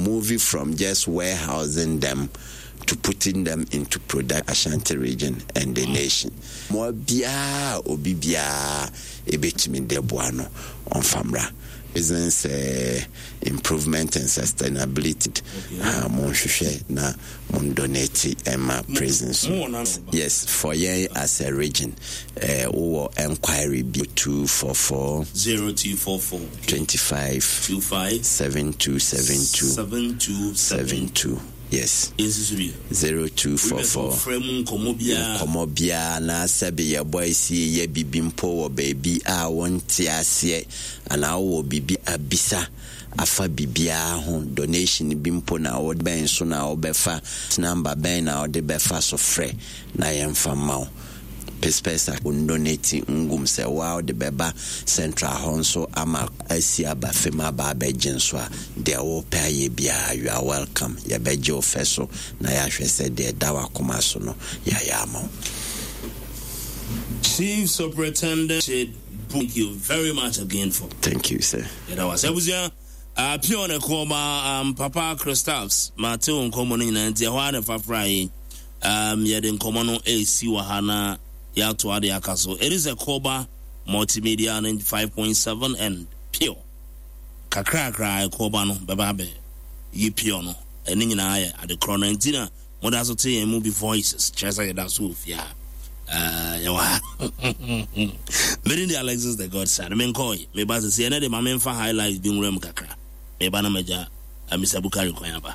move from just warehousing them to putting them into product Ashanti region and the nation. Mmoa biara a obi biara ebetumi de boa no, ɔmfa mmra. Business eh, improvement and sustainability. Ah, monhwehwɛ na mon donate ɛma prisons. Yes, for yɛn as a region, eh, wowɔ enquiry bi 244 0244 25 25 7272 7272 72. Yes. Yɛnsusu bio. 0244. Frɛ mu nkɔmmɔ biara. Nkɔmmɔ biara na sɛbe yɛbɔ asie yɛ bibi mpo wɔ baabi a wonte aseɛ anaa wowɔ biribi abisa afa biribiara ho, donation bi mpo na wo bɛn so na wobɛfa, number bɛn na wode bɛfa so frɛ na yɛmfa mma wo. Pespɛs a wondonate ngum sɛ wo ara wode bɛba central hɔ nso ama asi aba fam aba abɛgye nso a, deɛ wopɛ ayɛ biara you are welcome. Yɛbɛgye wo fɛ so na yɛahwɛ sɛ deɛ ɛda w'akoma so no yɛayɛ ama wo. Chief Superintendent thank you very much again for. Thank you, sir. Yɛda wo ase abusua. Uh, pure ne kɔma um, Papa Christaps mate wo nkɔmmɔ no nyinaa nti ɛhɔ ara na ɛfa fra yi um, yɛde nkɔmmɔ no ɛresi wɔ ha na yɛato ade aka so. It is a Koba Multimedia 95.7 and Pure. Kakrakra ɛkɔba no bɛba abɛ yi Pure no ɛne nyinaa yɛ ade korɔ no nti na Moda so te yɛn mu bi voices kyerɛ sɛ yɛda so wɔ fie ha. Uh, yɛwɔ ha. Mede de Alexis the Godson. Menkɔe. Meba sɛ sɛ ɛnɛ de ma memfa highlights bi nwura mu kakra. Meba na magya uh, Mr. Bukari kwan aba.